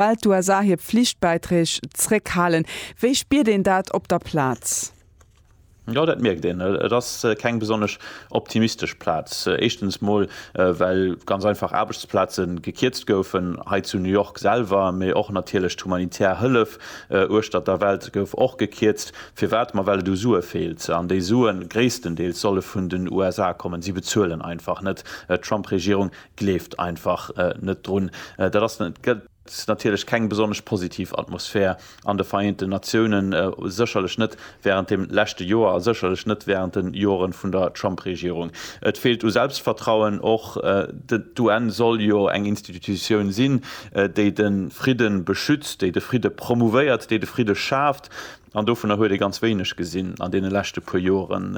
Well d'USA hir Pflichtbäiträg zréckhalen. Wéi spiert een dat op der Plaz? Jo, dat mierkt een. Et ass keng besonnesch optimistesch Plaz. Éischtens mol, well ganz einfach Aarbechtsplaze gekierzt goufen, hei zu New York selwer, mee och natierlech d'humanitär Hëllef uechtert der Welt gouf och gekierzt. Firwat? Ma well et u Sue feelt. An déi Sue gréisstendeels solle vun den USA kommen. Si bezuelen einfach net. D'Trump-Regierung gleeft einfach net drun. Dat ass gëtt natierlech keng besonnesch positiv Atmosphär an de Vereenten Natiounen, sécherlech net wärend dem leschte Joer a sécherlech net wärend de Joren vun der Trump-Regierung. Et feelt u Selbstvertrauen. Och d'UN soll jo eng Institutioun sinn, déi de Fridde beschützt, déi de Fridde promouvéiert, déi de Fridde schaaft. An dovunner huet ee ganz wéineg gesinn an deene leschte puer Joren.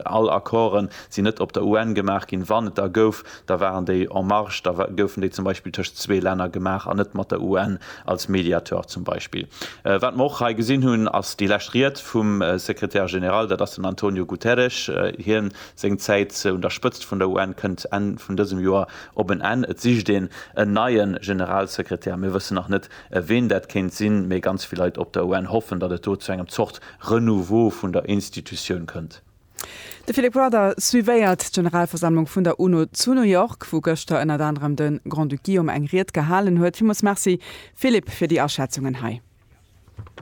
All Accorden sinn net op der UN gemaach ginn. Wann et der gouf, da waren déi en marge, da goufen déi zum Beispill tëscht zwee Länner gemaach an net mat der UN als Mediateur zum Beispill. Wat mer och hei gesinn hunn, ass déi lescht Ried vum Secrétaire général, dat ass den Antonio Guterres. Hien, seng Zäit un der Spëtzt vun der UN kënnt Enn vun dësem Joer op en Enn. Et sicht een en neie Generalsekretär. Mir wëssen nach net, Ween dat kéint sinn, mee ganz vill Leit op der UN hoffen, datt et do zu engem Zort Renouveau vun der Institutioun kënnt. De Philip Rudder suivéiert d'Generalversammlung vun der UNO zu New York, wou gëschter ënnert anerem de Grand-Duc Guillaume eng Ried gehalen huet. Villmools Merci Philippe fir déi Aschätzungen hei.